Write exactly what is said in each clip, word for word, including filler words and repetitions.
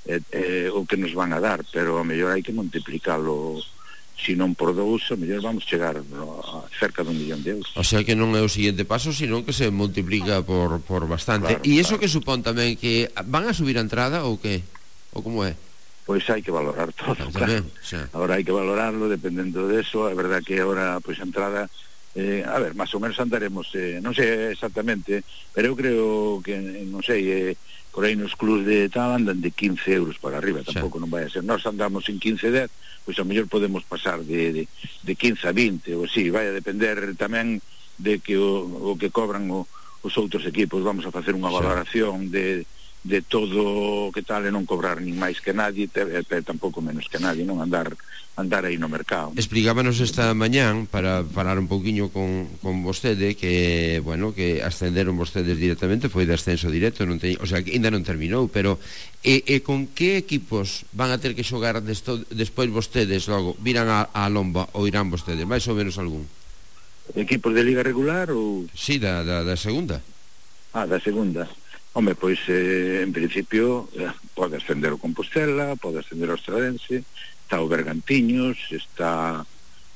eh, eh, o que nos van a dar, pero a mellor hai que multiplicalo, se non por dous, a mellor vamos chegar no, a cerca dun millón de euros. O sea que non é o seguinte paso, sino que se multiplica por, por bastante. E claro, iso claro. Que supón tamén que van a subir a entrada ou que? Ou como é? Pois hai que valorar todo, ah, claro. Tamén, xa. Agora hai que valorarlo dependendo de eso. É verdad que agora, pois, a entrada, eh, a ver, máis ou menos andaremos, eh, non sei exactamente, pero eu creo que, non sei, eh, por aí nos clubs de tal andan de quince euros para arriba, tampouco non vai a ser. Nós andamos en quince dez, pois a mellor podemos pasar de, de, de quince a vinte, ou así, vai a depender tamén de que o, o que cobran o, os outros equipos. Vamos a facer unha valoración de, de todo o que tal e non cobrar nin máis que nadie, e tampouco menos que nadie, non andar andar aí no mercado. Explicábanos esta mañán, para falar un pouquiño con, con vostede, que, bueno, que ascenderon vostedes directamente, foi de ascenso directo, non te, o sea, que ainda non terminou, pero e, e con que equipos van a ter que xogar desto, despois vostedes logo? Virán a, a Lomba ou irán vostedes? Mais ou menos algún? Equipos de liga regular ou...? Sí, da, da, da segunda. Ah, da segunda. Home, pois, eh, en principio, eh, pode ascender o Compostela, pode ascender o Estradense, está o Bergantiños, está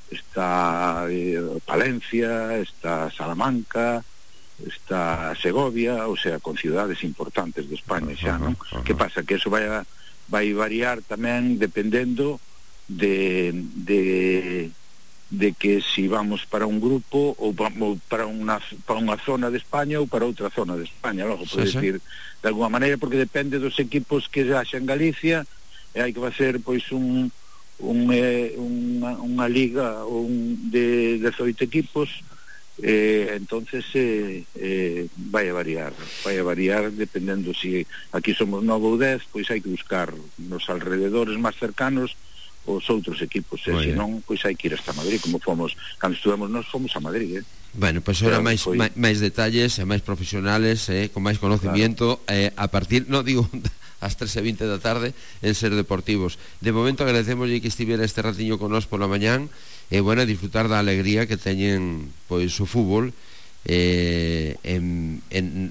está eh, Palencia, está Salamanca, está Segovia, o sea, con ciudades importantes de España xa, non? Uh -huh. Que pasa? Que eso vai, a, vai variar tamén dependendo de, de, de que si vamos para un grupo ou para unha, para unha zona de España ou para outra zona de España, logo, por sí, decir, sí. De alguma maneira, porque depende dos equipos que xa en Galicia, e hai que facer, pois, un Un, eh, unha, unha liga un de dezoito equipos, eh, entonces eh, eh, vai a variar vai a variar dependendo si aquí somos nove ou dez, pois hai que buscar nos alrededores máis cercanos os outros equipos, e se non, pois hai que ir hasta Madrid, como fomos cando estuvemos nós, fomos a Madrid, eh. Bueno, pois pues ahora máis, foi... máis detalles e máis profesionales, eh, con máis conocimiento, claro. eh, a partir, non digo ás tres e vinte da tarde en Ser Deportivos. De momento agradecemoslle que estivera este ratiño con nós pola mañán, e bueno, disfrutar da alegría que teñen pois o fútbol, eh, en, en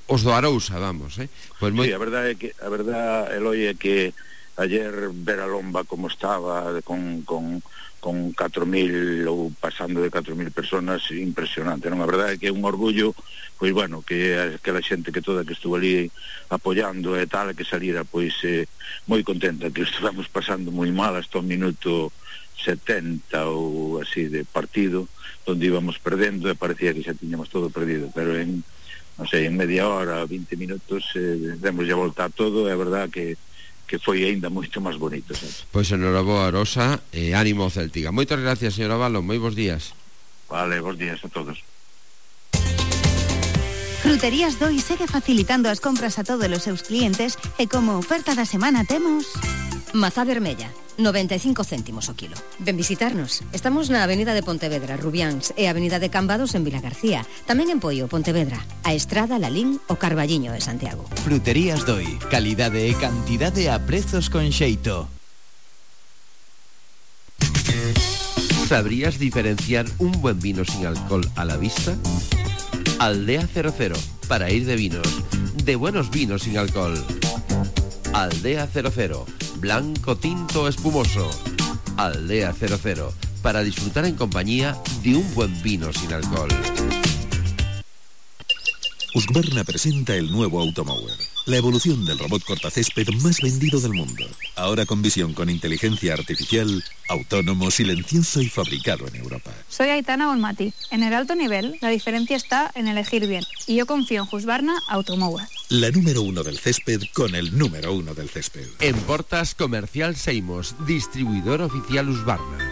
os do Arousa, vamos, eh. Pois moi... Sí, a verdade é que a verdade, Eloi, é que ayer ver a Lomba como estaba con con con catro mil ou pasando de catro mil personas, impresionante, non? A verdade é que é un orgullo, pois bueno, que aquela xente que toda que estuvo ali apoiando e tal, que salira pois eh, moi contenta, que estuvamos pasando moi mal hasta o minuto setenta ou así de partido, onde íbamos perdendo e parecía que xa tiñamos todo perdido, pero en, non sei, en media hora, vinte minutos, eh, demos ya volta a todo, e a verdade que que foi aínda moito máis bonito, sabes? Pois enhoraboa, Rosa, e ánimo Céltica. Moitas gracias, señora Valo, moi bons días. Vale, bons días a todos. Fruterías Doi segue facilitando as compras a todos os seus clientes, e como oferta da semana temos mazá vermella, noventa e cinco céntimos o kilo. Ven visitarnos. Estamos na Avenida de Pontevedra, Rubiáns, e Avenida de Cambados en Vilagarcía. Tamén en Poio, Pontevedra, a Estrada, Lalín o Carballiño de Santiago. Fruterías Doi, calidade e cantidade a prezos con xeito. ¿Sabrías diferenciar un buen vino sin alcohol a la vista? Aldea cero cero, para ir de vinos, de buenos vinos sin alcohol. Aldea cero cero, blanco, tinto, espumoso. Aldea cero cero, para disfrutar en compañía de un buen vino sin alcohol. Husqvarna presenta el nuevo Automower, la evolución del robot cortacésped más vendido del mundo. Ahora con visión con inteligencia artificial, autónomo, silencioso y fabricado en Europa. Soy Aitana Bonmati. En el alto nivel, la diferencia está en elegir bien. Y yo confío en Husqvarna Automower. La número uno del césped con el número uno del césped. En Portas Comercial Seimos, distribuidor oficial Husqvarna.